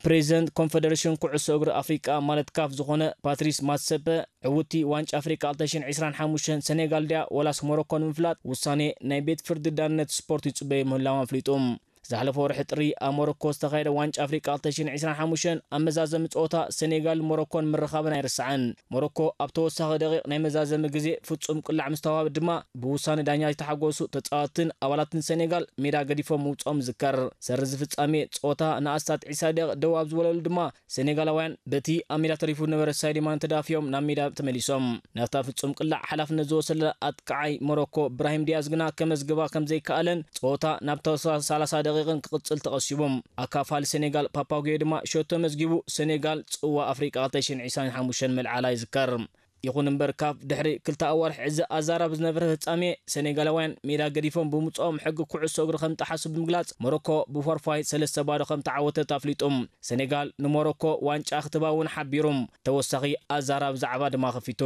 ፕሬዚደንት ኮንፈደሬሽን ኩዕሶ እግሪ ኣፍሪቃ ማለት ካፍ ዝኾነ ፓትሪስ ማትሰፐ፣ ዕውቲ ዋንጫ ኣፍሪቃ ክልተ ሽሕን ዕስራን ሓሙሽተን ሰኔጋል ድያ ወላስ ሞሮኮ ንምፍላጥ ውሳኔ ናይ ቤት ፍርዲ ዳነት ስፖርት ይጽበዩ ምህላዎም ኣፍሊጡ። ዝሓለፈ ወርሒ ጥሪ ኣብ ሞሮኮ ዝተኻየደ ዋንጫ ኣፍሪቃ ክልተ ሽሕን ዕስራን ሓሙሽተን ኣብ መዛዘሚ ጸወታ ሰኔጋል ሞሮኮን ምርኻበን ኣይርሳዕን። ሞሮኮ ኣብ ተወሳኺ ደቂቕ ናይ መዛዘሚ ግዜ ፍጹም ቅላዕ ምስ ተዋሃበ ድማ ብውሳነ ዳኛ ዝተሓጎሱ ተጻወትትን ኣባላትን ሰኔጋል ሜዳ ገዲፎም ምውጽኦም ይዝከር። ሰሪ እዚ ፍጻሜ ጸወታ ንኣስታት ዒስራ ደቂቕ ደው ኣብ ዝበለሉ ድማ ሰኔጋላውያን በቲ ኣብ ሜዳ ተሪፉ ዝነበረ ሳይዲ ማነ ተዳፊኦም ናብ ሜዳ ተመሊሶም። ናብታ ፍጹም ቅላዕ ሓላፍነት ዝወሰደ ኣጥቃዓይ ሞሮኮ ብራሂም ዲያዝ ግና ከመዝግባ ከም ዘይከኣለን ጸወታ ናብ ተወሳኺ ሰላሳ ደቂቕን ክቕጽል ተቐሲቡ። ኣካፋሊ ሰኔጋል ፓፓጉዮ ድማ ሸቶ መዝጊቡ ሰኔጋል ጽዋ ኣፍሪቃ ክልተ ሽሕን ዕስራን ሓሙሽተን መልዓላ ይዝከር። ይኹን እምበር ካፍ ድሕሪ ክልተ ኣዋርሕ እዚ ኣዛራቢ ዝነበረ ፍጻሜ ሰኔጋላውያን ሜዳ ገዲፎም ብምውጽኦም ሕጊ ኩዕሶ እግሪ ከም ጠሓሱ ብምግላጽ ሞሮኮ ብፎርፋይ ሰለስተ ባዶ ከም ተዓወተት ኣፍሊጡ። ሰኔጋል ንሞሮኮ ዋንጫ ክትባ እውን ሓቢሩ ተወሳኺ ኣዛራቢ ዛዕባ ድማ ከፊቱ።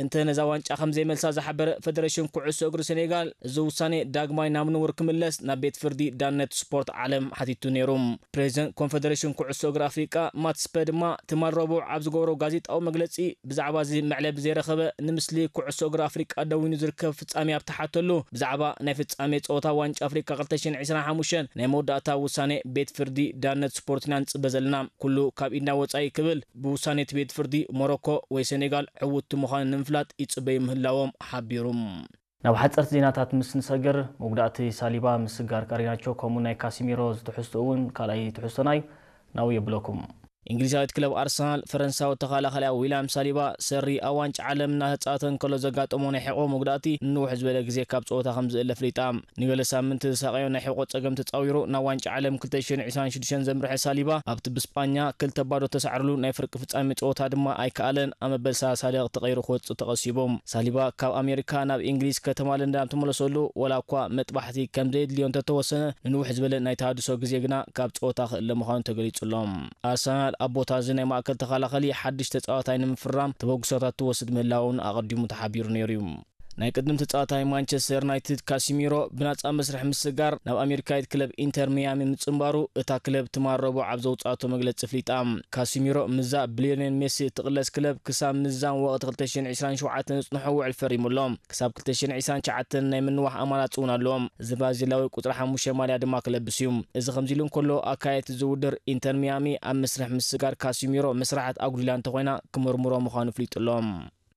እንተ ነዛ ዋንጫ ከም ዘይመልሳ ዝሓበረ ፈደሬሽን ኩዕሶ እግሪ ሰኔጋል፣ እዚ ውሳኔ ዳግማይ ናብ ንቡር ክምለስ ናብ ቤት ፍርዲ ዳነት ስፖርት ዓለም ሓቲቱ ነይሩ። ፕሬዚደንት ኮንፈደሬሽን ኩዕሶ እግሪ ኣፍሪቃ ማትስፐ ድማ ትማል ረቡዕ ኣብ ዝገበሮ ጋዜጣዊ መግለጺ ብዛዕባ እዚ መዕለቢ ዘረኸበ ንምስሊ ኩዕሶ እግሪ ኣፍሪቃ ደዊኑ ዝርከብ ፍጻሜ ኣብ ተሓተሉ ብዛዕባ ናይ ፍጻሜ ጸወታ ዋንጫ ኣፍሪቃ ክልተ ሽሕን ዕስራን ሓሙሽተን ናይ መወዳእታ ውሳኔ ቤት ፍርዲ ዳነት ስፖርት ኢና ንጽበ ዘለና። ኩሉ ካብ ኢድና ወጻኢ ክብል ብውሳኔ እቲ ቤት ፍርዲ ሞሮኮ ወይ ሰኔጋል ዕውትቲ ምዃኑ ንምፍላጥ ይጽበዩ ምህላዎም ሓቢሩ። ናብ ሓጸርቲ ዜናታት ምስ ንሰግር፣ መጉዳእቲ ሳሊባ፣ ምስጋር ጋሪናቾ ከምኡ ናይ ካሲሚሮ ዝትሕዝቶ እውን ካልኣይ ትሕዝቶና እዩ። ናብኡ የብለኩም። እንግሊዛዊት ክለብ ኣርሰናል ፈረንሳዊ ተኸላኻሊኣ ዊልያም ሳሊባ ሰሪ ኣብ ዋንጫ ዓለም እናተጻወተ እንከሎ ዘጋጠሞ ናይ ሕቖ መጉዳእቲ ንንውሕ ዝበለ ግዜ ካብ ጸወታ ከም ዝእለ ኣፍሊጣ። ንገለ ሳምንቲ ዝሳቐዮ ናይ ሕቖ ጸገም ተጻዊሩ ናብ ዋንጫ ዓለም ክልተ ሽሕን ዕስራን ሽዱሽተን ዘምርሐ ሳሊባ፣ ኣብቲ ብስጳኛ ክልተ ባዶ ተሳዕርሉ ናይ ፍርቂ ፍጻሜ ጸወታ ድማ ኣይከኣለን። ኣብ መበል ሰላሳ ደቂቕ ተቐይሩ ክወጽእ ተቐሲቡ። ሳሊባ ካብ ኣሜሪካ ናብ እንግሊዝ ከተማ ለንደን ኣብ ተመለሰሉ፣ ወላ እኳ መጥባሕቲ ከም ዘየድልዮ እንተተወሰነ፣ ንንውሕ ዝበለ ናይ ተሃድሶ ግዜ ግና ካብ ጸወታ ክእለ ምዃኑ ተገሊጹ ኣሎ። ኣርሰናል ኣብ ቦታ እዚ ናይ ማእከል ተኸላኸሊ ሓድሽ ተጻዋታይ ንምፍራም ተበግሶታት ትወስድ ምህላውን ኣቐዲሙ ተሓቢሩ ነይሩ እዩ። ናይ ቅድም ተጻዋታይ ማንቸስተር ዩናይትድ ካሲሚሮ ብናጻ መስርሕ ምስጋር ናብ ኣሜሪካዊት ክለብ ኢንተር ሚያሚ ምጽንባሩ እታ ክለብ ትማል ረቡዕ ኣብ ዘውጻእቶ መግለጺ ኣፍሊጣ። ካሲሚሮ ምስዛ ብሊዮኔል ሜሲ እትቕለስ ክለብ ክሳብ ምዛም ወቕቲ ክልተ ሽሕን ዕስራን ሸውዓተን ዝጽንሖ ውዕል ፈሪሙ ኣሎ። ክሳብ ክልተ ሽሕን ዕስራን ትሽዓተን ናይ ምንዋሕ ኣማራጺ እውን ኣለዎ። እዚ ብራዚላዊ ቁጽሪ ሓሙሽተ ማልያ ድማ ክለብስ እዩ። እዚ ከምዚ ኢሉ እንከሎ፣ ኣካየድቲ እዚ ውድድር ኢንተር ሚያሚ ኣብ መስርሕ ምስጋር ካሲሚሮ መስራሓት ኣጉዲላ እንተኾይና ክምርምሮ ምዃኑ ኣፍሊጡ ኣሎ።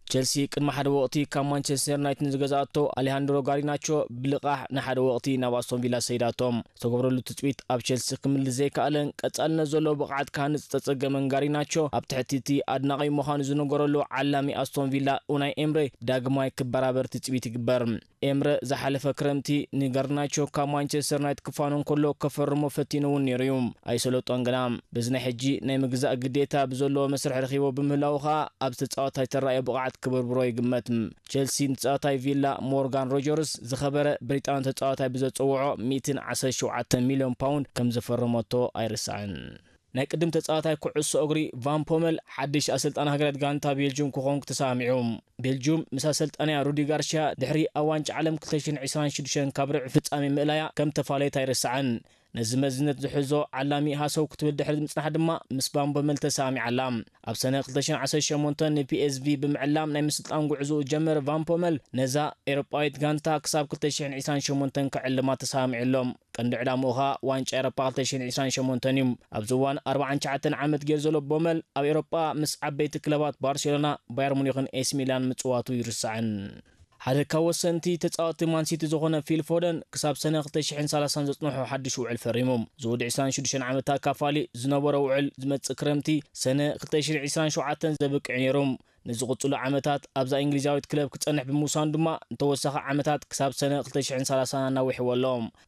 ቸልሲ ቅድሚ ሓደ ወቕቲ ካብ ማንቸስተር ዩናይትድ ንዝገዝኣቶ ኣሌሃንድሮ ጋሪናቾ ብልቓሕ ንሓደ ወቕቲ ናብ ኣስቶን ቪላ ሰይዳቶ። ዝተገብረሉ ትጽቢት ኣብ ቸልሲ ክምልስ ዘይከኣለን ቀጻልነት ዘለዎ ብቕዓት ክሃንጽ ዝተጸገመን ጋሪናቾ፣ ኣብ ትሕቲ እቲ ኣድናቒ ምዃኑ ዝነገረሉ ዓላሚ ኣስቶን ቪላ ኡናይ ኤምሬ ዳግማይ ክበራበር ትጽቢት ይግበር። ኤምረ ዝሓለፈ ክረምቲ ንጋርናቾ ካብ ማንቸስተር ዩናይትድ ክፋኖ እንከሎ ከፈርሞ ፈቲኑ እውን ነይሩ እዩ። ኣይሰለጦን ግና። በዚ ናይ ሕጂ ናይ ምግዛእ ግዴታ ብዘለዎ መስርሕ ረኺቦ ብምህላዉ ከኣ ኣብዚ ተጻዋታይ ተራእዮ ብቕዓት ክብርብሮ ይግመት። ቸልሲ ንተጻዋታይ ቪላ ሞርጋን ሮጀርስ ዝኸበረ ብሪጣንያዊ ተጻዋታይ ብዘጸውዖ ሚእትን ዓሰርተ ሸውዓተን ሚልዮን ፓውንድ ከም ዘፈረመቶ ኣይርሳዕን። ናይ ቅድም ተጻዋታይ ኩዕሶ እግሪ ቫን ፖመል ሓድሽ ኣሰልጣኒ ሃገራዊት ጋንታ ቤልጅዩም ክኾን ተሰማሚዑ። ቤልጅዩም ምስ ኣሰልጣኒኣ ሩዲ ጋርሽያ ድሕሪ ኣብ ዋንጫ ዓለም ክልተ ሽሕን ዕስራን ሽዱሽተን ካብ ርብዒ ፍጻሜ ምእላያ ከም ተፋለየት ኣይርሳዕን። ነዚ መዝነት ዝሕዞ ዓላሚ ሃሰው ክትብል ድሕሪ ምጽናሕ ድማ ምስ ቫን ፖመል ተሰማሚዓ ኣላ። ኣብ ሰነ ክልተ ሽሕን ዓሰርተ ሸሞንተን ንፒኤስቪ ብምዕላም ናይ ምስልጣን ጉዕዞኡ ዝጀመረ ቫን ፖመል ነዛ ኤውሮጳዊት ጋንታ ክሳብ ክልተ ሽሕን ዕስራን ሸሞንተን ክዕልማ ተሰማሚዑ ኣሎ። ቀንዲ ዕላምኡ ኸኣ ዋንጫ ኤውሮጳ ክልተ ሽሕን ዕስራን ሸሞንተን እዩ። ኣብዚ እዋን ኣርባዓን ትሽዓተን ዓመት ገይሩ ዘሎ ፖመል ኣብ ኤውሮጳ ምስ ዓበይቲ ክለባት ባርሴሎና፣ ባየር ሙኒኽን ኤሲ ሚላን ምጽዋቱ ይርሳዕን። ሓደ ካብ ወሰንቲ ተጻወትቲ ማንሲቲ ዝኾነ ፊል ፎደን ክሳብ ሰነ ክልተ ሽሕን ሰላሳን ዘጽንሖ ሓድሽ ውዕል ፈሪሙ። ዝውዲ ዕስራን ሽዱሽተን ዓመት ኣካፋሊ ዝነበሮ ውዕል ዝመጽእ ክረምቲ ሰነ ክልተ ሽሕን ዕስራን ሸውዓተን ዘብቅዕ ነይሩ። ንዝቕጽሉ ዓመታት ኣብዛ እንግሊዛዊት ክለብ ክጸንሕ ብምውሳኑ ድማ ንተወሳኺ ዓመታት ክሳብ ሰነ ክልተ ሽሕን ሰላሳን ኣናዊሕዎ ኣሎ።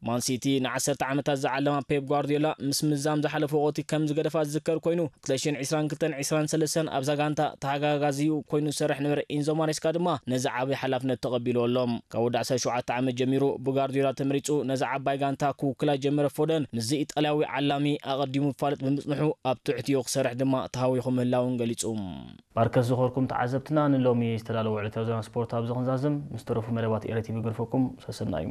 ማንሲቲ ንዓሰርተ ዓመታት ዝዓለማ ፔፕ ጓርዲዮላ ምስ ምዛም ዝሓለፈ ወቕቲ ከም ዝገደፋ ዝዝከር ኮይኑ፣ ክልተ ሽሕን ዕስራን ክልተን ዕስራን ሰለስተን ኣብዛ ጋንታ ተሓጋጋዚኡ ኮይኑ ዝሰርሕ ነበረ ኢንዞ ማሬስካ ድማ ነዚ ዓቢ ሓላፍነት ተቐቢልዎ ኣሎ። ካብ ወዲ ዓሰርተ ሸውዓተ ዓመት ጀሚሩ ብጋርዲዮላ ተመሪጹ ነዛ ዓባይ ጋንታ ክውክላ ዝጀመረ ፎደን ምስዚ ኢጣልያዊ ዓላሚ ኣቐዲሙ ይፋለጥ ብምጽንሑ ኣብ ትሕቲኡ ክሰርሕ ድማ ተሃዊኹ ምህላውን ገሊጹ። ባርከስ ዝኾርኩም ተዓዘብትና፣ ንሎሚ ዝተዳለወ ዕለታዊ ዜና ስፖርት ኣብዚ ክንዛዝም፣ ምስ ተረፉ መደባት ኤረ ቲቪ ገርፈኩም ሰሰና እዩ።